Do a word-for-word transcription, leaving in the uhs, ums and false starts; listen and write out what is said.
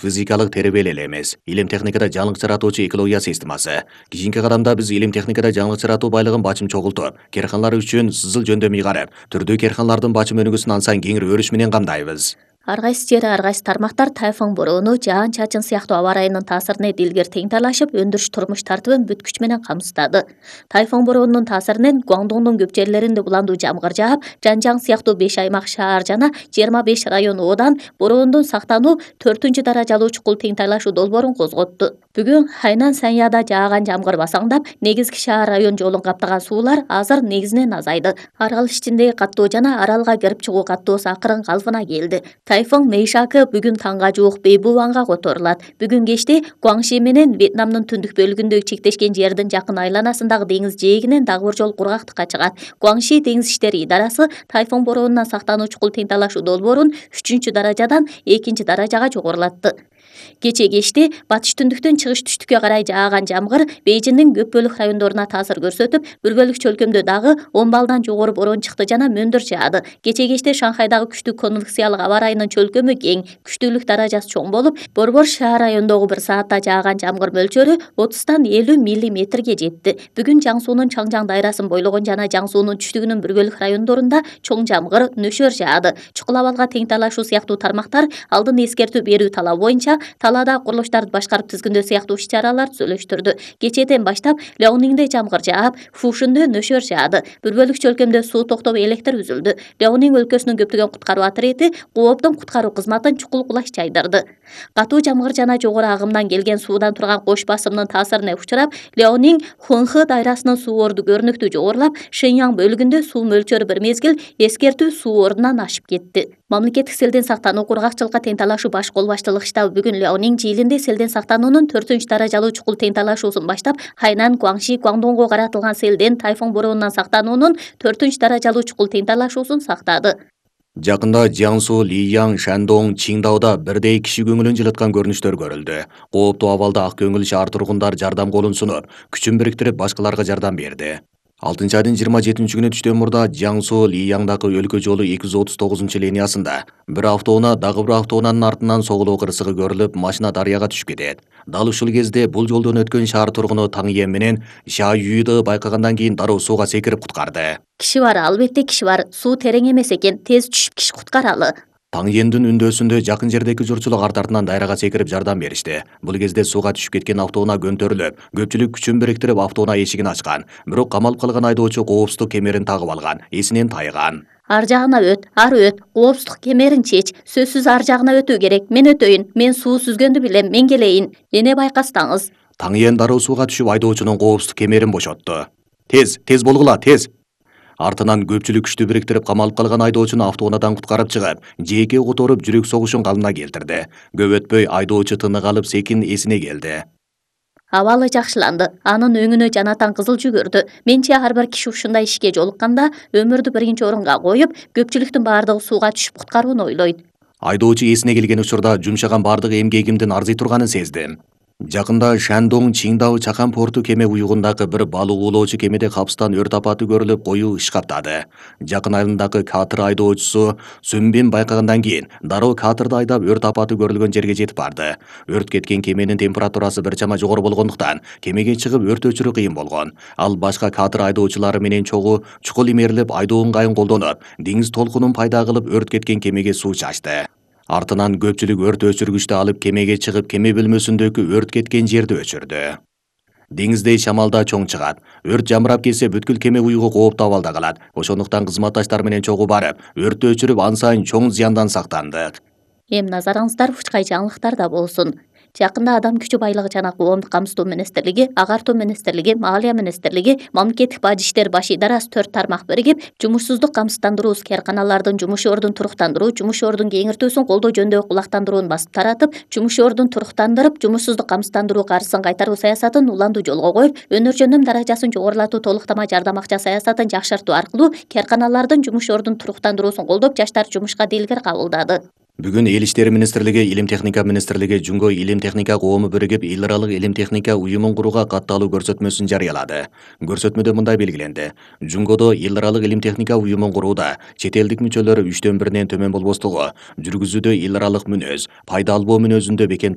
Физикалык тербеле эле эмес, илим техникада жаңылык жаратуучу экология системасы. Кийинки кадамда биз илим техникада жаңылык жаратуу байлыгын бачым чогултуп, керканалар үчүн сызыл жөндөмү ыйгарып, түрдүү керканалардын бачым өнүгүүсүн ансайын кеңири өрүш менен камдайбыз. Ар кайсы жери, ар кайсы тармактар тайфун бороону, жаан чачын сыяктуу аба ырайынын таасирине дилгер тең талашып, өндүрүш турмуш тартыбын бүт күч менен камсыздады. Тайфун бороонунун таасиринен Гуандоңдун көп жерлеринде буландуу жамгыр жаап, Жанжаң сыяктуу беш аймак шаар жана жыйырма беш район оодан бороондун сактануу төртүнчү даражалуу чукул тең талашуу долбоорун козготту. Бүгүн Хайнан Саньяда жааган жамгыр басаңдап, негизги шаар район жолун каптаган суулар азыр негизинен азайды. Арал ичиндеги каттоо жана аралга кирип чыгуу каттоосу акырын калыбына келди. Тайфун Мэйшакы бүгүн таңга жуук Бейбуанга которулат. Бүгүн кечте Гуаңши менен Вьетнамдын түндүк бөлүгүндө чектешкен жердин жакын айланасындагы деңиз жээгинен дагы бир жолу кургактыкка чыгат. Гуаңши деңиз иштери идарасы тайфун бороонунан сактануу чукул тең талашуу долбоорун үчүнчү даражадан экинчи даражага жогорулатты. Кече кечте батыш түндүктөн чыгыш түштүккө карай жааган жамгыр Бейжиңдин көп бөлүк райондоруна таасир көрсөтүп, бир бөлүк чөлкөмдө дагы он баллдан жогору бороон чыкты жана мөндүр жаады. Кече кечте Шанхайдагы күчтүү конвекциялык аба ырайынын чөлкөмү кең, күчтүүлүк даражасы чоң болуп, Борбор шаар районундогу бир саатта жааган жамгыр мөлчөрү отуздан элүү миллиметрге жетти. Бүгүн Жаң суунун Чаңжаң дайрасын бойлогон жана Жаң суунун түштүгүнүн бир бөлүк райондорунда чоң жамгыр нөшөр жаады. Чукул абалга тең талашуу сыяктуу тармактар алдын эскертүү берүү талабы боюнча талаада курулуштарды башкарып тизгиндөө сыяктуу иш-чаралар түзүлүштүрдү. Кечээден баштап Леониңде жамгыр жаап, Фушундө нөшөр жаады. Бир бөлүк чөлкөмдө суу токтоп, электр үзүлдү. Леониң өлкөсүнүн көптөгөн куткаруу отряди Кооптун куткаруу кызматын чукул кулаш жайдырды. Катуу жамгыр жана жогору агымдан келген суудан турган кош басымдын таасирине учурап, Леониң Хунхы дайрасынын суу орду көрүнүктүү жогорулап, Шэньяң бөлүгүндө суу мөлчөрү бир мезгил эскертүү суу ордунан ашып кетти. Мамлекеттик селден сактануу кургакчылыкка тең талашуу баш кол баштыгы штабы бүгүн Леониң жыйылында селден сактануунун төртүнчү даражалуу чукул тең талашуусун баштап, Хайнан, Гуаңши, Гуандоңго каратылган селден тайфун бороонунан сактануунун төртүнчү даражалуу чукул тең талашуусун сактады. Жакында Jiangsu, Лияң, Шандоң, Чиңдауда бирдей киши көңүлүн жылыткан көрүнүштөр көрүлдү. Кооптуу абалда ак көңүл шаар тургундар жардам колун сунуп, күчүн бириктирип башкаларга жардам берди. алтынчы айдын жыйырма жетинчи күнү түштөн мурда Jiangsu, Лияңдагы өлкө жолу эки жүз отуз тогузунчу линиясында бир автоунаа дагы бир автоунаанын артынан соголоо кырсыгы көрүлүп, машина дарыяга түшүп кетет. Дал ушул кезде бул жолдон өткөн шаар тургуну Таң Йен менен Ша Юйды байкагандан кийин дароо сууга секирип куткарды. Киши бар, албетте киши бар. Суу терең эмес экен, тез түшүп киши куткаралы. Таң Йендин үндөөсүндө жакын жердеги журтчулук арт артынан дайрага секирип жардам беришти. Бул кезде сууга түшүп кеткен автоунаа көндөрүлүп, көпчүлүк күчүн бириктирип автоунаа эшигин ачкан. Бирок камалып калган айдоочу коопсуздук кемерин тагып алган, эсинен тайган. Ар жагына өт, ар өт, коопсуздук кемерин чеч. Сөзсүз ар жагына өтүү керек. Мен өтөйүн, мен суу сүзгөндү билем, мен келейин. Эне байкастаңыз. Таң Йен дароо сууга түшүп айдоочунун коопсуздук кемерин бошотту. Тез, тез болгула, тез. Артынан көпчүлүк күчтү бириктирип камалып калган айдоочуну автоунаадан куткарып чыгып, жээкке которуп жүрөк согушун калыбына келтирди. Көп өтпөй айдоочу тынык алып секин эсине келди. Абалы жакшыланды. Анын өңүнө жанатан кызыл жүгүрдү. Менче ар бир киши ушундай ишке жолукканда өмүрдү биринчи орунга коюп, көпчүлүктүн баардыгы сууга түшүп куткарууну ойлойт. Айдоочу эсине келген учурда жумшаган баардык эмгегимдин арзый турганын сездим. Жакында Шандоң Чиңдау чакан порту кеме уюгундагы бир балык уулоочу кемеде капыстан өрт апаты көрүлүп, коюу иш каптады. Жакын айылындагы катер айдоочусу Сүмбин байкагандан кийин дароо катерди айдап өрт апаты көрүлгөн жерге жетип барды. Өрт кеткен кеменин температурасы бир чама жогору болгондуктан кемеге чыгып өрт өчүрүү кыйын болгон. Ал башка катер айдоочулары менен чогуу чукул имерилип, айдоо ыңгайын колдонуп, деңиз толкунун пайда кылып өрт кеткен кемеге суу чачты. Артынан көпчүлүк өрт өчүргүчтү алып кемеге чыгып, кеме бөлмөсүндөгү өрт кеткен жерди өчүрдү. Деңиздей шамалда чоң чыгат. Өрт жамырап кетсе бүткүл кеме уюгу кооптуу абалда калат. Ошондуктан кызматташтар менен чогуу барып, өрттү өчүрүп, ансайын чоң зыяндан сактандык. Эми назарыңыздар учкай жаңылыктарда болсун. Жакында Адам күчү байлыгы жана коомдук камсыздоо министрлиги, Агартуу министрлиги, Маалия министрлиги, Мамлекеттик бажы иштер баш идарасы төрт тармак биригип, жумушсуздук камсыздандыруу, керканалардын жумуш ордун туруктандыруу, жумуш ордун кеңиртүүсүн колдоо жөнүндөгү кулактандырууну басып таратып, жумуш ордун туруктандырып, жумушсуздук камсыздандыруу каржысын кайтаруу саясатын уланду жолго коюп, өнөр жөндөм даражасын жогорулатуу, толуктама жардам акча саясатын жакшыртуу аркылуу керканалардын жумуш ордун туруктандыруусун колдоп, жаштар жумушка дилгер кабылдады. Бүгүн Эл иштери министрлиги, Илим техника министрлиги Жумго илим техника коому биригип эл аралык илим техника уюмун курууга катталуу көрсөтмөсүн жарыялады. Көрсөтмөдө мындай белгиленди: Жумгодо эл аралык илим техника уюмун курууда чет элдик мүчөлөр үчтөн биринен төмөн болбостугу, жүргүзүүдө эл аралык мүнөз, пайда албоо мүнөзүндө бекем